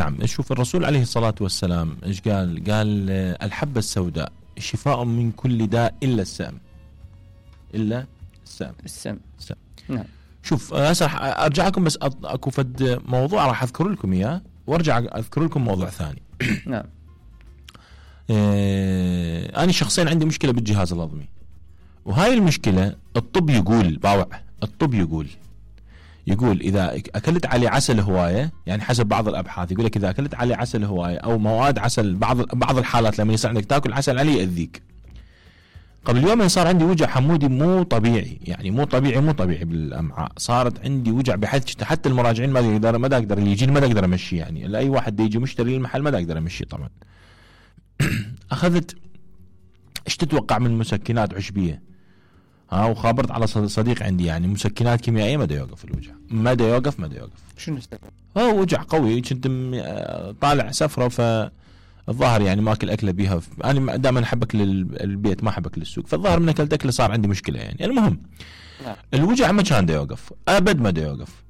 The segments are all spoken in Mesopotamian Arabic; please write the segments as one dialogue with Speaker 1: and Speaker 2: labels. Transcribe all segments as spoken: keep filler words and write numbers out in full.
Speaker 1: نعم. شوف الرسول عليه الصلاة والسلام ايش قال؟ قال الحبة السوداء شفاء من كل داء إلا السام. إلا السام.
Speaker 2: السام.
Speaker 1: السام.
Speaker 2: نعم.
Speaker 1: شوف هسه ارجع لكم بس اكو فد موضوع راح اذكر لكم اياه وارجع اذكر لكم موضوع ثاني.
Speaker 2: نعم.
Speaker 1: آه انا شخصيا عندي مشكلة بالجهاز الهضمي، وهاي المشكلة الطب يقول باوع الطب يقول يقول اذا اكلت عليه عسل هوايه، يعني حسب بعض الابحاث يقول لك اذا اكلت عليه عسل هوايه او مواد عسل، بعض بعض الحالات لما يصير عندك تاكل عسل عليه ياذيك. قبل يومين صار عندي وجع حمودي مو طبيعي، يعني مو طبيعي مو طبيعي بالامعاء، صارت عندي وجع بحيث حتى المراجعين ما يقدر ما اقدر اللي يجي ما اقدر امشي، يعني لاي واحد يجي مشتري المحل ما اقدر امشي طبعا. اخذت ايش تتوقع من مسكنات عشبيه، ها وخابرت على صديق عندي يعني مسكنات كيميائيه ما دا يوقف الوجع، ما دا يوقف ما دا يوقف.
Speaker 2: شنو السبب؟
Speaker 1: هو وجع قوي، كنت طالع سفره فالظاهر يعني ماكل اكله بيها، انا دائما احب اكل البيت ما احب اكل السوق، فالظاهر من اكلت اكله صار عندي مشكله يعني. المهم
Speaker 2: نعم.
Speaker 1: الوجع ما كان دا يوقف ابد، ما دا يوقف،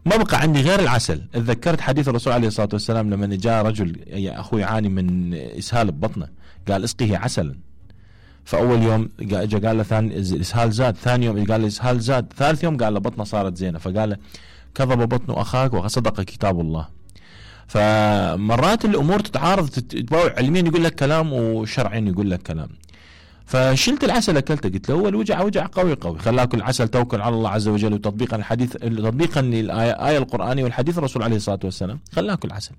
Speaker 1: ما بقى عندي غير العسل. تذكرت حديث الرسول عليه الصلاه والسلام لما جاء رجل يا اخوي يعاني من اسهال ببطنه، قال اسقيه عسلا. فاول يوم اجى قال له ثاني الاسهال زاد، ثاني يوم قال له الاسهال زاد، ثالث يوم قال له بطنه صارت زينه، فقال له كذب بطن اخاك وصدق كتاب الله. فمرات الامور تتعارض تتباوع، علميا يقول لك كلام وشرعيا يقول لك كلام. فشلت العسل اكلته، قلت له هو الوجع وجع قوي قوي، خلاك العسل توكل على الله عز وجل، وتطبيقا الحديث تطبيقا للايه القرانيه والحديث الرسول عليه الصلاه والسلام خلاك العسل.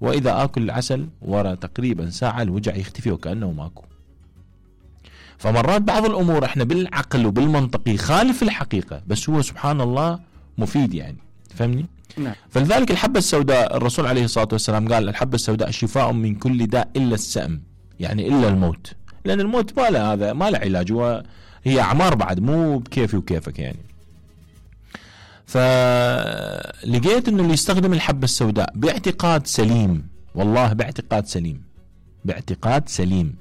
Speaker 1: واذا اكل العسل ورا تقريبا ساعه الوجع يختفي وكانه ماكو. فمرات بعض الامور احنا بالعقل وبالمنطق يخالف الحقيقه، بس هو سبحان الله مفيد يعني، فهمني؟
Speaker 2: نعم.
Speaker 1: فلذلك الحبه السوداء الرسول عليه الصلاه والسلام قال الحبه السوداء شفاء من كل داء الا السأم، يعني الا الموت، لان الموت ما له هذا ما له علاج، وهي اعمار بعد مو بكيفي وكيفك يعني. فلقيت انه اللي يستخدم الحبه السوداء باعتقاد سليم، والله باعتقاد سليم باعتقاد سليم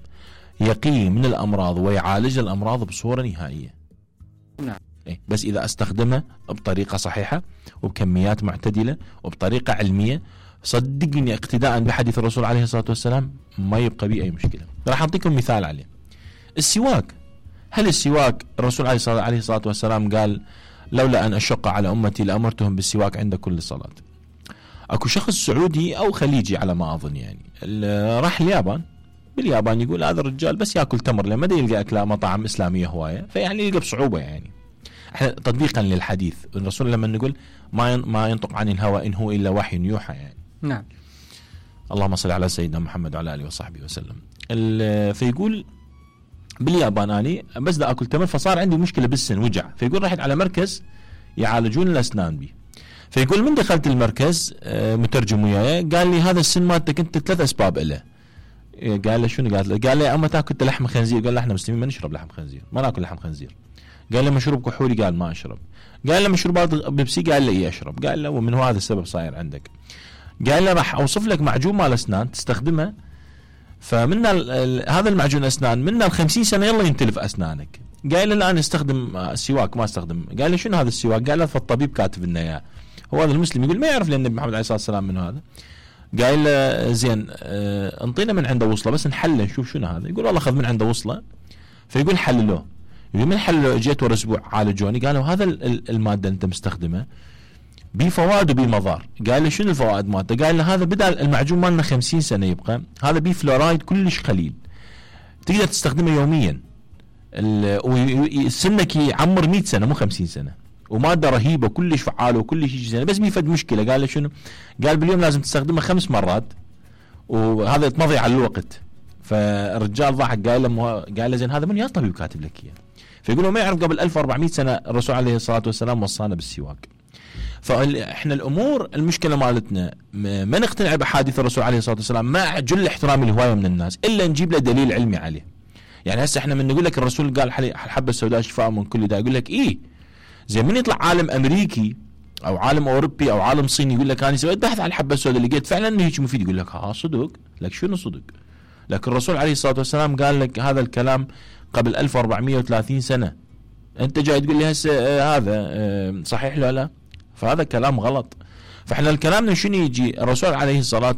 Speaker 1: يقي من الأمراض ويعالج الأمراض بصورة نهائية.
Speaker 2: نعم.
Speaker 1: إيه بس إذا استخدمها بطريقة صحيحة وبكميات معتدلة وبطريقة علمية، صدقني اقتداء بحديث الرسول عليه الصلاة والسلام ما يبقى بي أي مشكلة. راح أعطيكم مثال عليه. السواك، هل السواك الرسول عليه الصلاة والسلام قال لولا أن أشق على أمتي لأمرتهم بالسواك عند كل صلاة. أكو شخص سعودي أو خليجي على ما أظن يعني راح اليابان، باليابان يقول هذا الرجال بس ياكل تمر لما دا يلقى اكله مطاعم اسلاميه هوايه، فيعني يلقى بصعوبه يعني. احنا تطبيقا للحديث الرسول لما نقول ما ما ينطق عن الهوى ان هو الا وحي يوحى يعني.
Speaker 2: نعم.
Speaker 1: اللهم صل على سيدنا محمد وعلى اله وصحبه وسلم. فيقول باليابان اني بس دا اكل تمر فصار عندي مشكله بالسن وجع، فيقول رحت على مركز يعالجون الاسنان بي. فيقول من دخلت المركز مترجم وياي قال لي هذا السن مالتك انت ثلاث اسباب له. قال له شنو؟ قال له قال لي اما تاكل لحم خنزير؟ قال له احنا مسلمين ما نشرب لحم خنزير، ما ناكل لحم خنزير. قال له مشروب كحولي؟ قال ما اشرب. قال له مشروبات بيبسي؟ قال له اي اشرب. قال له ومن هذا السبب صاير عندك. قال له راح اوصف لك معجون مال اسنان تستخدمه، فمن هذا المعجون الاسنان من الخمسين سنه يلا ينتلف اسنانك. قال له الان استخدم السواك ما استخدم. قال له شنو هذا السواك؟ قال له فالطبيب كاتب لنا اياه. هو هذا المسلم يقول ما يعرف لان النبي محمد عليه الصلاه والسلام من هذا. قال له زين اه انطينا من عنده وصله بس نحله نشوف شنو هذا. يقول والله اخذ من عنده وصله، فيقول حللوه. يقول من حللوه جيت ورا اسبوع عالجوني، قالوا هذا الماده انت مستخدمه بفوائد وبمضار. قال له شنو الفوائد مالته؟ قال له هذا بدل المعجون مالنا خمسين سنه يبقى، هذا بيه فلورايد كلش قليل تقدر تستخدمه يوميا، سنك يعمر مئة سنه مو خمسين سنه، وماده رهيبه كلش فعاله وكلش يجي زين، بس بيفد مشكله. قال له شنو؟ قال باليوم لازم تستخدمه خمس مرات وهذا تمضي على الوقت. فالرجال ضحك قال له قال له زين هذا من يا طبيب كاتب لك اياه؟ فيقولوا ما يعرف قبل ألف وأربعمئة سنه الرسول عليه الصلاه والسلام وصانا بالسواك. فاحنا الامور المشكله مالتنا ما نقتنع بحديث الرسول عليه الصلاه والسلام مع جل احترام الهوايه من الناس الا نجيب له دليل علمي عليه. يعني هسه احنا من نقول لك الرسول قال الحبه السوداء شفاء من كل داء، يقول لك ايه زي من يطلع عالم امريكي او عالم اوروبي او عالم صيني يقول لك انا سويت بحث عن الحبه السوداء لقيت فعلا انه هيك مفيد، يقول لك ها صدق. لك شنو صدق؟ لكن الرسول عليه الصلاه والسلام قال لك هذا الكلام قبل ألف وأربعمئة وثلاثين سنه، انت جاي تقول لي هسه آه هذا آه صحيح لا لا؟ فهذا كلام غلط. فاحنا الكلام شنو يجي؟ الرسول عليه الصلاه